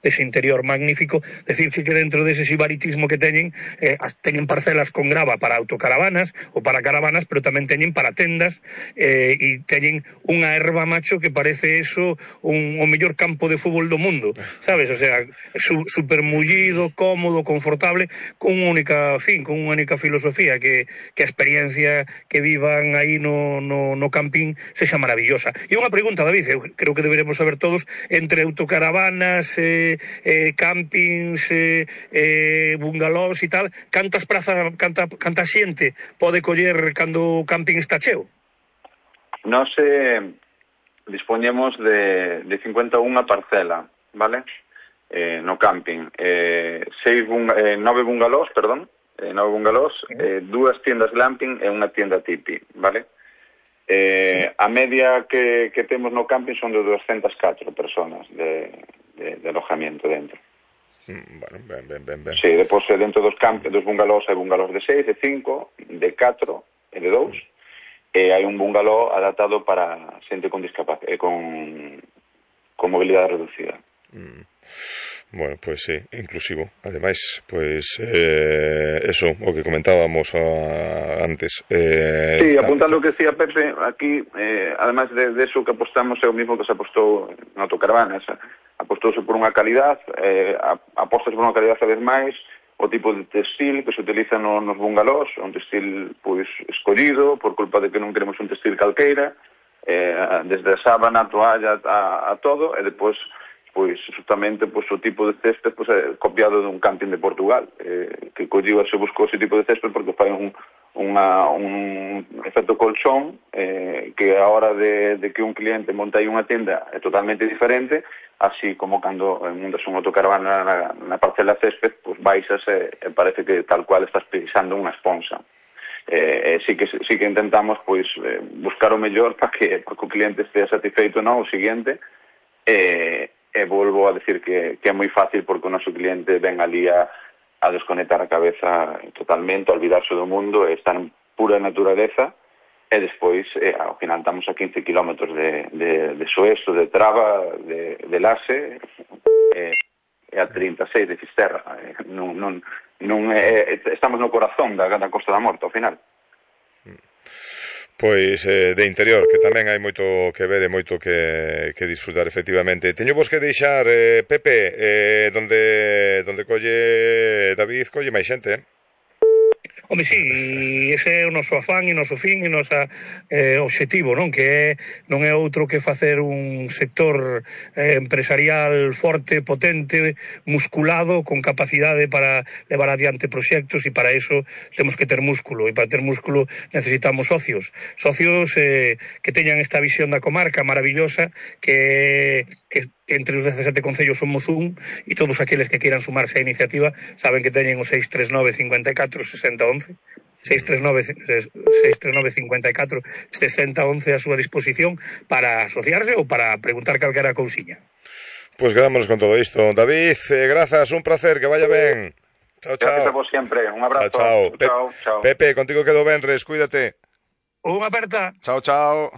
dese interior magnífico. Decirse que dentro dese sibaritismo que teñen parcelas con grava para autocaravanas ou para caravanas, pero tamén teñen para tendas, e teñen unha erva, macho, que parece eso o mellor campo de fútbol do mundo, sabes? O sea, super mullido, cómodo, confortable, con unha única filosofía, que a experiencia que vivan aí no camping sexa maravillosa. E unha pregunta, David, eu creo que deberemos saber todos, entre autocaravanas, campings, bungalows e tal, cantas prazas, canta xente pode coller cando o camping está cheo? Nós dispoñemos de 51 parcela, vale? No camping. 9 bungalows, 9 bungalows, 2 tiendas glamping e unha tienda tipi, vale? A media que temos no camping son de 204 personas de alojamiento dentro. Bueno, ben. Sí, depois dentro dos bungalows hai bungalows de 6, de 5, de 4 e de 2, e hai un bungalow adaptado para xente con discapacidade, con mobilidade reducida. Bueno, pois sí, inclusivo. Ademais, pois eso, o que comentábamos antes. Sí, apuntando o que decía Pepe, aquí, ademais de eso que apostamos é o mismo que se apostou na autocaravana, apostouse por unha calidad, apostase por unha calidad cada vez máis, o tipo de textil que se utiliza nos bungalows, un textil pois escollido, por culpa de que non queremos un textil calqueira, desde a sábana, a toalla, a todo, e depois pois justamente o tipo de césped copiado dun camping de Portugal, que colliu e se buscou ese tipo de césped porque fai un efecto colchón, que a hora de que un cliente monta aí unha tenda é totalmente diferente, así como cando montas un autocaravana na parcela césped, pois baixas e parece que tal cual estás pisando unha esponsa. Sí que intentamos pois buscar o mellor para que o cliente estea satisfeito o seguinte, e volvo a decir que é moi fácil porque o noso cliente ven ali a desconectar a cabeza totalmente, a olvidarse do mundo, estar en pura naturaleza, e despois ao final estamos a 15 kilómetros de Soeso, de Traba, de Laxe, e a 36 de Fisterra. Estamos no corazón da Costa da Morte ao final. Pois de interior, que tamén hai moito que ver e moito que disfrutar, efectivamente. Teño vos que deixar, Pepe, donde colle David, colle máis xente, Home, sí, ese é o noso afán e o noso fin e o noso obxectivo, non? Que non é outro que facer un sector empresarial forte, potente, musculado, con capacidade para levar adiante proxectos, e para iso temos que ter músculo, e para ter músculo necesitamos socios que teñan esta visión da comarca maravillosa, que entre os 17 concellos somos un, e todos aqueles que queiran sumarse á iniciativa saben que teñen o 639 54 60 11, 639 54 60 11 a súa disposición para asociarse ou para preguntar calquera cousiña. Pois quedámonos con todo isto. David, grazas, un placer, que vaya ben. Chao. Gracias a vos sempre, un abrazo. Chao. Pepe, contigo quedo benres, cuídate. Unha aperta. Chao. Chao.